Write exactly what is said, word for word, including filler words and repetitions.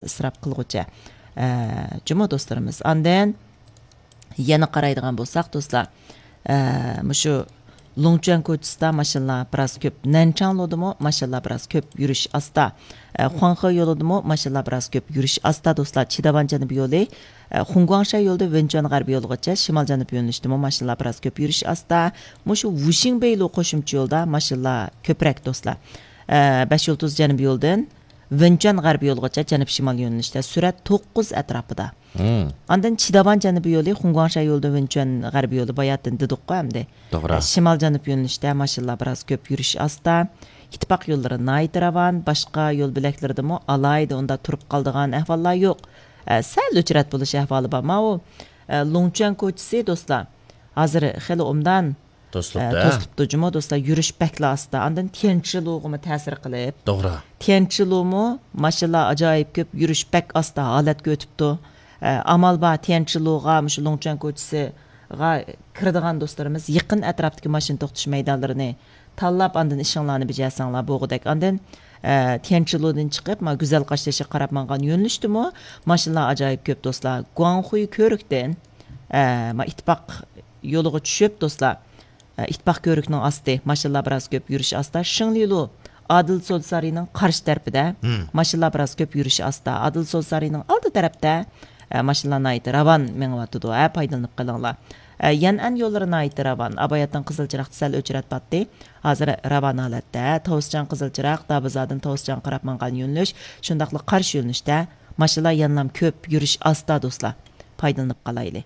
ئىسراپ قىلغۇچە. ئە، جۇمۇ دوستلىرىمىز. ئاندىن يەنە قارايدىغان بولساق، دوستلار، ئە، مۇشۇ لۇڭچۈەن كوچىسىدا ماشىنىلار بىراز كۆپ. نەنچاڭلۇدىمۇ ماشىنىلار بىراز كۆپ، يۈرۈش ئاستا. ئە، خۇاڭخې يولىدىمۇ ماشىنىلار بىراز كۆپ، يۈرۈش ئاستا، دوستلار. چىداۋان جەنۇبىي يولى، ئە، خۇڭگۇاڭشەن يولىدىن ۋېنچۈەن غەربىي يولىغىچە شىمال جەنۇب يۆنىلىشتىمۇ ماشىنىلار بىراز كۆپ، يۈرۈش ئاستا. مۇشۇ ۋۇشىڭبېيلۇ قوشۇمچە يولدا ماشىنىلار كۆپرەك، دوستلار. ئە، بەش يۇلتۇز جەنۇبىي يولدىن ۋېنچۈەن غەربىي يولىغىچە جەنۇب شىمال يۆنىلىشتە سۈرئەت توققۇز ئەتراپىدا. مم. ئاندىن چىداۋان جەنۇبىي يولى، خۇڭگۇاڭشەن يولىدىن ۋېنچۈەن غەربىي يولى باياتىن دېدۇققۇ ئەمدى. توغرا. ئە، شىمال جەنۇب يۆنىلىشتە ماشىنىلار بىراز كۆپ، يۈرۈش ئاستا. ئىتتىپاق يوللىرى ناھايىتى راۋان، باشقا يول بۆلەكلىرىدىمۇ ئالاھىدە ئۇنداق تۇرۇپ قالىدىغان ئەھۋاللار يوق. ئە، سەل ئۆچرەت بولۇش ئەھۋالى بار. ماۋۇ، ئە، لۇڭچۈەن كوچىسى، دوستلار، ھازىر خېلى ئوبدان توسۇلۇپتۇ، ئە، ھە؟ توسۇلۇپتۇ جۇمۇ، دوستلار، يۈرۈش بەكلا ئاستا. ئاندىن تيەنچىلۇغىمۇ تەسىر قىلىپ. توغرا. تيەنچىلۇمۇ ماشىنىلار ئاجايىپ كۆپ، يۈرۈش بەك ئاستا ھالەتكە ئۆتۈپتۇ. ئە، ئامال بار، تيەنچىلۇغا، مۇشۇ لۇڭچۈەن كوچىسىغا كىرىدىغان دوستلىرىمىز يېقىن ئەتراپتىكى ماشىنا توختىتىش مەيدانلىرىنى تاللاپ، ئاندىن ئىشىڭلارنى بېجەرسەڭلار بولغۇدەك. ئاندىن، ئە، تيەنچىلۇدىن چىقىپ، ما، گۈزەل قاشتېشىغا قاراپ ماڭغان يۆنىلىشتىمۇ ماشىنىلار ئاجايىپ كۆپ، دوستلار. گۇاڭخۇي كۆۋرۈكتىن، ئە، ما، ئىتتىپاق يولىغا چۈشۈپ، دوستلار، ئىتتىپاق كۆۋرۈكنىڭ ئاستى، ماشىنىلار بىراز كۆپ، يۈرۈش ئاستا. شىڭلىلۇ، ئادىل سودا سارىيىنىڭ قارشى تەرىپىدە، مم، ماشىنىلار بىراز كۆپ، يۈرۈش ئاستا. ئادىل سودا سارىيىنىڭ ئالدى تەرەپتە، ئە، ماشىنىلار ناھايىتى راۋان مېڭىۋاتىدۇ، ھە، پايدىلىنىپ قېلىڭلار. ئە، يەنئەن يوللىرى ناھايىتى راۋان. ئاباياتتىن قىزىل چىراغدا سەل ئۆچرەت باتتى. ھازىر راۋان ھالەتتە. تاۋۇسچان قىزىل چىراغ، دابىزادىن تاۋۇسچانغا قاراپ ماڭغان يۆنىلىش، شۇنداقلا قارشى يۆنىلىشتە ماشىنىلار يەنىلام كۆپ، يۈرۈش ئاستا، دوستلار. پايدىلىنىپ قالايلى.